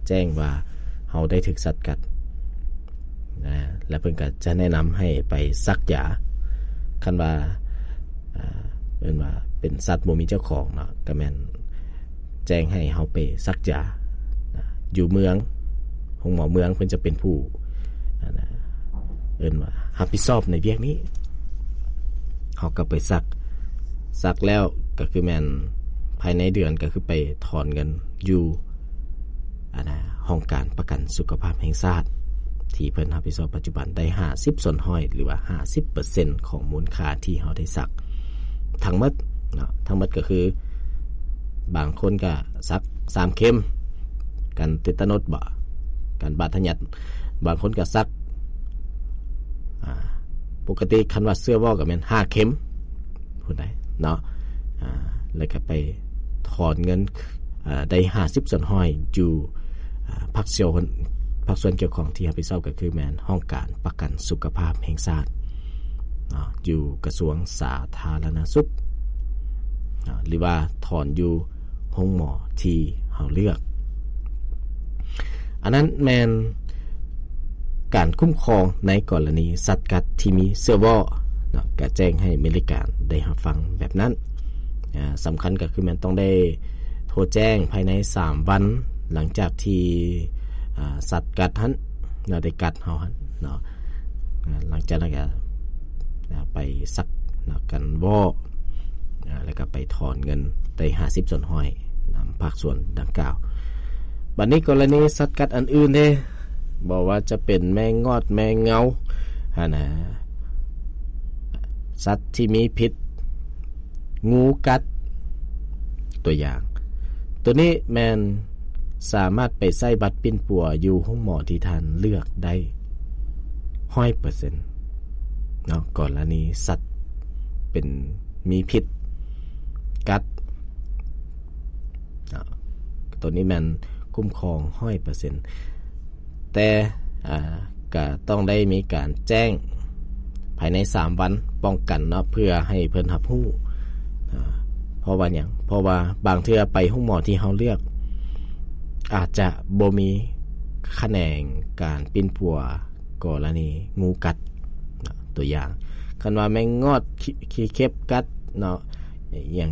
ແຈ້ງວ່າເຮົາໄດ້ຖືກສັດກັດນະ ແລະເພິ່ນກໍຈະແນະນຳໃຫ້ໄປສັກຢາ. ຄັນວ່າ ອ່າ ເອີ້ນວ່າເປັນສັດບໍ່ມີເຈົ້າຂອງເນາະ ກໍແມ່ນແຈ້ງໃຫ້ເຮົາໄປສັກຢານະ ຢູ່ເມືອງ ໂຮງໝໍເມືອງເພິ່ນຈະເປັນຜູ້ ອັນນະ ເອີ້ນວ່າຮັບຜິດຊອບໃນວຽກນີ້ ເຮົາກໍໄປສັກ ສັກແລ້ວກໍຄືແມ່ນພາຍໃນເດືອນ ກໍຄືໄປຖອນເງິນຢູ່ ອັນນະ ຫ້ອງການປະກັນສຸຂະພາບແຫ່ງຊາດ ທີ່ເພິ່ນຮັບຜິດຊອບປັດຈຸບັນໄດ້ຫ້າສິບສ່ວນຮ້ອຍ ຫຼືວ່າຫ້າສິບເປີເຊັນຂອງມູນຄ່າທີ່ເຮົາໄດ້ສັກທັງໝົດເນາະ. ທັງໝົດກໍຄື ບາງຄົນກໍສັກສາມເຂັມ ກັນເຕຕານົດບໍ ກັນບາດທະຍັດ, ບາງຄົນກໍສັກ ອ່າ ປົກກະຕິຄັນວ່າເຊື້ອວໍກໍແມ່ນຫ້າເຂັມພຸ້ນໃດ໋ເນາະ. ອ່າ ແລ້ວກໍໄປຖອນເງິນ ອ່າ ໄດ້ຫ້າສິບສ່ວນຮ້ອຍຢູ່ ອ່າ ພາກສ່ວນ ພາກສ່ວນກ່ຽວຂ້ອງທີ່ຮັບຜິດຊອບກໍຄືແມ່ນຫ້ອງການປະກັນສຸຂະພາບແຫ່ງຊາດເນາະ ຢູ່ກະຊວງສາທາລະນະສຸກເນາະ ຫຼືວ່າຖອນຢູ່ ໂຮງໝໍທີ່ເຮົາເລືອກ. ອັນນັ້ນແມ່ນການຄຸ້ມຄອງໃນກໍລະນີສັດກັດທີ່ມີເຊື້ອວໍເນາະ, ກະແຈ້ງໃຫ້ເມລິກາໄດ້ຮັບຟັງແບບນັ້ນ. ອາ ສຳຄັນກໍຄືແມ່ນຕ້ອງໄດ້ໂທແຈ້ງພາຍໃນສາມວັນຫຼັງຈາກທີ່ ອາ ສັດກັດຫັ້ນເນາະ ໄດ້ກັດເຮົາຫັ້ນເນາະ. ອາ ຫຼັງຈາກນັ້ນກໍ ອາ ໄປສັກເນາະ ກັນວໍ ອາ ແລ້ວກໍໄປຖອນເງິນໄດ້ຫ້າສິບສ່ວນຮ້ອຍນຳພາກສ່ວນດັ່ງກ່າວ. ບັດນີ້ກໍລະນີສັດກັດອັນອື່ນເດ້ ບໍ່ວ່າຈະເປັນແມງງອດ ແມງເງົາຫັ້ນນະ ສັດທີ່ມີພິດ ງູກັດ ຕົວຢ່າງ ໂຕນີ້ແມ່ນສາມາດໄປໃຊ້ບັດປິ່ນປົວຢູ່ໂຮງໝໍທີ່ທ່ານເລືອກໄດ້ຮ້ອຍເປີເຊັນເນາະ. ກໍລະນີສັດເປັນ ມີພິດກັດເນາະ ໂຕນີ້ແມ່ນຄຸ້ມຄອງຮ້ອຍເປີເຊັນ ແຕ່ ອ່າ ກະຕ້ອງໄດ້ມີການແຈ້ງພາຍໃນສາມວັນປ້ອງກັນເນາະ ເພື່ອໃຫ້ເພິ່ນຮັບຮູ້. ເພາະວ່າຫຍັງ? ເພາະວ່າບາງເທື່ອໄປໂຮງໝໍທີ່ເຮົາເລືອກ ອາດຈະບໍ່ມີຂະແໜງການປິ່ນປົວກໍລະນີງູກັດເນາະ. ຕົວຢ່າງ ຄັນວ່າແມງງອດ ຂີ້ ຂີ້ເຂັບກັດເນາະ ອີຫຍັງ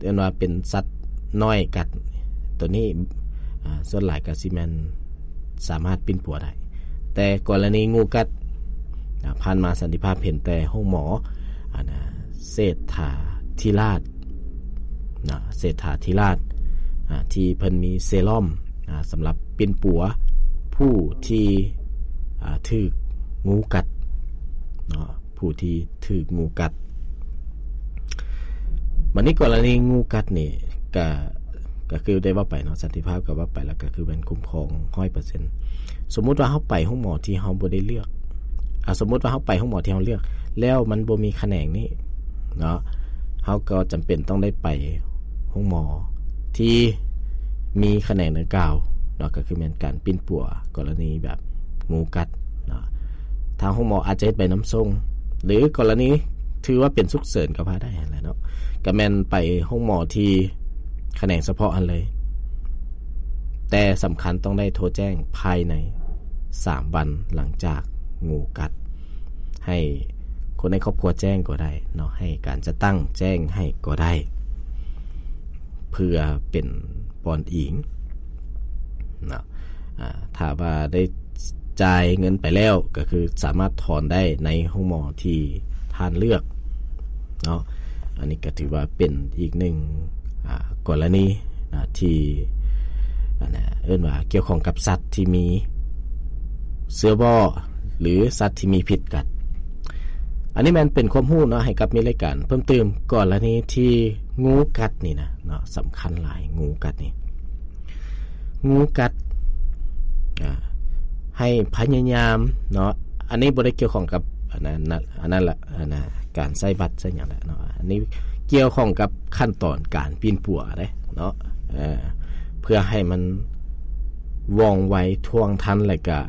ເອີ້ນວ່າເປັນສັດນ້ອຍກັດ ໂຕນີ້ ອາ ສ່ວນຫຼາຍກໍຊິແມ່ນສາມາດປິ່ນປົວໄດ້. ແຕ່ກໍລະນີງູກັດ ອາ ຜ່ານມາສັນຕິພາບເຫັນແຕ່ໂຮງໝໍ ອັນນະ ເສດຖາທິລາດນະ ເສດຖາທິລາດ ອາ ທີ່ເພິ່ນມີເຊຣອມ ອາ ສຳລັບປິ່ນປົວຜູ້ທີ່ ອາ ຖືກງູກັດເນາະ ຜູ້ທີ່ຖືກງູກັດ. ບັດນີ້ກໍລະນີງູກັດນີ້ ກະ ກະຄືໄດ້ເວົ້າໄປເນາະ ສັນຕິພາບກໍເວົ້າໄປແລ້ວ ກະຄືແມ່ນຄຸ້ມຄອງຮ້ອຍເປີເຊັນ. ສົມມຸດວ່າເຮົາໄປໂຮງໝໍທີ່ເຮົາບໍ່ໄດ້ເລືອກ ອາ ສົມມຸດວ່າເຮົາໄປໂຮງໝໍທີ່ເຮົາເລືອກ ແລ້ວມັນບໍ່ມີຂະແໜງນີ້ເນາະ ເຮົາກໍຈຳເປັນຕ້ອງໄດ້ໄປໂຮງໝໍທີ່ມີຂະແໜງດັ່ງກ່າວເນາະ ກໍຄືແມ່ນການປິ່ນປົວກໍລະນີແບບ ງູກັດເນາະ. ທາງໂຮງໝໍອາດຈະເຮັດໃບນຳສົ່ງ ຫຼື ກໍລະນີຖືວ່າເປັນສຸກເສີນກໍວ່າໄດ້ຫັ້ນແຫຼະເນາະ ກໍແມ່ນໄປໂຮງໝໍທີ່ຂະແໜງສະເພາະຫັ້ນເລີຍ. ແຕ່ສຳຄັນຕ້ອງໄດ້ໂທແຈ້ງພາຍໃນສາມວັນຫຼັງຈາກງູກັດ ໃຫ້ຄົນໃນຄອບຄົວແຈ້ງກໍໄດ້ເນາະ ໃຫ້ການຈັດຕັ້ງແຈ້ງໃຫ້ກໍໄດ້ ເພື່ອເປັນບ່ອນອີງເນາະ. ອາ ຖ້າວ່າໄດ້ຈ່າຍເງິນໄປແລ້ວ ກໍຄືສາມາດຖອນໄດ້ໃນໂຮງໝໍທີ່ທ່ານເລືອກເນາະ. ອັນນີ້ກໍຖືວ່າເປັນອີກໜຶ່ງ ອາ ກໍລະນີນະ ທີ່ ອັນນະ ເອີ້ນວ່າກ່ຽວຂ້ອງກັບສັດທີ່ມີເຊື້ອວໍ ຫຼື ສັດທີ່ມີພິດກັດ. ອັນນີ້ແມ່ນເປັນຄວາມຮູ້ເນາະ ໃຫ້ກັບມີລາຍການເພີ່ມຕື່ມ ກໍລະນີທີ່ງູກັດນີ້ນະເນາະ ສຳຄັນຫຼາຍ ງູກັດນີ້ ງູກັດ ອາ ໃຫ້ພະຍາຍາມເນາະ ອັນນີ້ບໍ່ໄດ້ກ່ຽວຂ້ອງກັບ ອັນນັ້ນ ອັນນັ້ນລະ ອັນນະ ການໃຊ້ບັດໃຊ້ຫຍັງລະເນາະ ອັນນີ້ກ່ຽວຂ້ອງກັບຂັ້ນຕອນການປິ່ນປົວເດ້ເນາະ ເພື່ອໃຫ້ມັນວ່ອງໄວ ທ່ວງທັນ ແລະກະ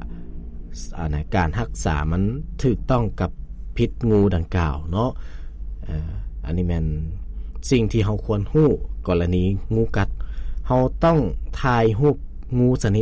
ອັນນະ ການຮັກສາມັນຖືກຕ້ອງກັບພິດງູດັ່ງກ່າວເນາະ. ເອີ ອັນນີ້ແມ່ນສິ່ງທີ່ເຮົາຄວນຮູ້ ກໍລະນີງູກັດ ເຮົາຕ້ອງຖ່າຍຮູບງູຊະນິດ